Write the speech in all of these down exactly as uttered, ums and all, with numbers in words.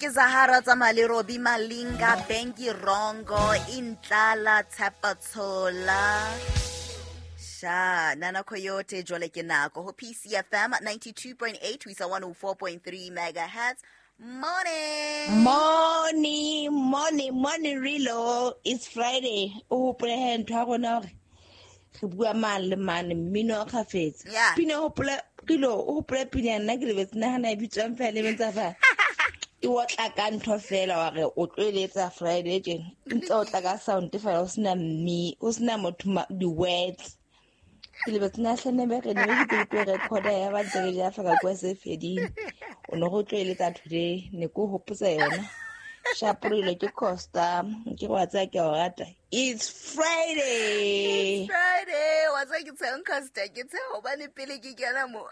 Ke Zahara tsamaya le Robbie Malinga, Bengi Rongo, Intlala Tshepatshola. Sha, Nana Coyote jwale ke nako ho P C F M ninety-two point eight ho isa one oh four point three megahertz. Morning. Morning, morning, morning, Rilo. It's Friday. O hopole he ntho ya rona hore re bua mane le mane mmino o kgafetsa. Yeah. Pina o hopole Rilo, o hopole pina nna ke lebetse nahana e bitswang fela e bentsa fa. E otla ka ntho fela wa re o tlo eletsa Friday tjena. Ntse o tla ka sound fela o sena mme, o sena motho di-words. Ke lebetse na hlene be re ne ke tlo recorder ya ba ntse re ja fa ka kwa se fedile. O no go tlo eletsa today ne ko hopotsa yona. Shaporile ke Costa, ke go tsaya ke o rata. It's Friday. It's Friday. Wa tsaya ke tsheng Costa, ke tshe hobane pele ke kena mo.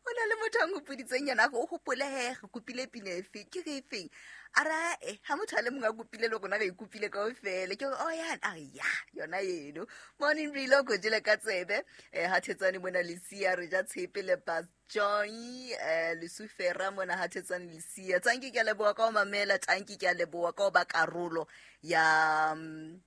O na le motho a nkgopoditseng yena o hopole he re kopile pina efe ke re efeng a ra e ha motho a le mongwe a kopile le rona re ikopile kaofela ke gore oh ya a re ya yona eno. Morning Rilo ko jele ka tsebe eh ha thetsane mona Lesia re ja tshepe le Bas Joy eh Lesufera mona ha thetsane Lesia. Tanki ke a leboha ka ho mamela, tanki ke a leboha ka ho ba karolo ya um,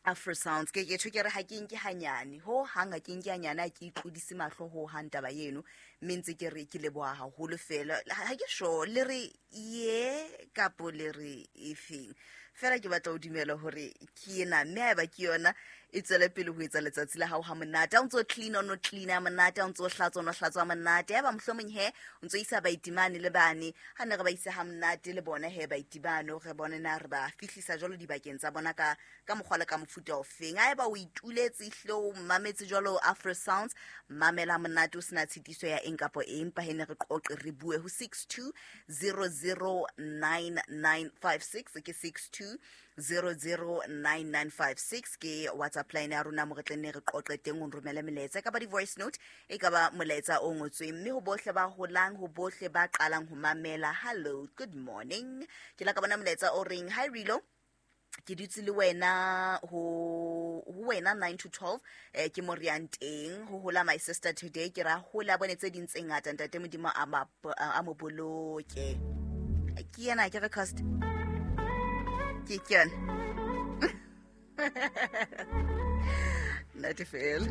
Afro Sounds. Ke ke tjho ke re ha ke nke hanyane ho hang ha ke nke hanyane ha ke itlodise mahlo ho hang taba eno mme ntse ke re ke leboha haholo fela ha ke sure le re ye kapo le re efeng fela ke batla ho dumela hore ke ena mme haeba ke yona e tswele pele ho etsa letsatsi la hao ha monate. Ha o ntso clean o no clean ha monate, ha o ntso hlatswa o no hlatswa ha monate. Haeba mohlomong he o ntso isa baitimane le bane ha ne re ba isa ha monate le bona he baitimane re bone na re ba fihlisa jwalo dibakeng tsa bona ka ka mokgwa le ka mofuta ofeng. Haeba o ituletse ehlile o mametse jwalo Afro Sounds, mamela monate o sena tshitiso ya eng kapo eng, empa he ne re qoqe re bue ho six two zero zero nine nine five six ke six two zero zero nine nine five six ke WhatsApp line ya rona mo re tle nne re qoqe teng o nromele melaetsa e ka ba di-voice note e ka ba molaetsa o ngotsweng mme ho bohle ba holang ho bohle ba qalang ho mamela. Hello, good morning. Ke la ka bona molaetsa o reng hi Rilo, ke dutse le wena ho ho wena nine to twelve eh ke mo re yang teng ho hola my sister today ke ra hola bone tse ding tse ngata ntate Modimo a ma a mo boloke. Ke yena ke re cost ke ke yona. Not fail.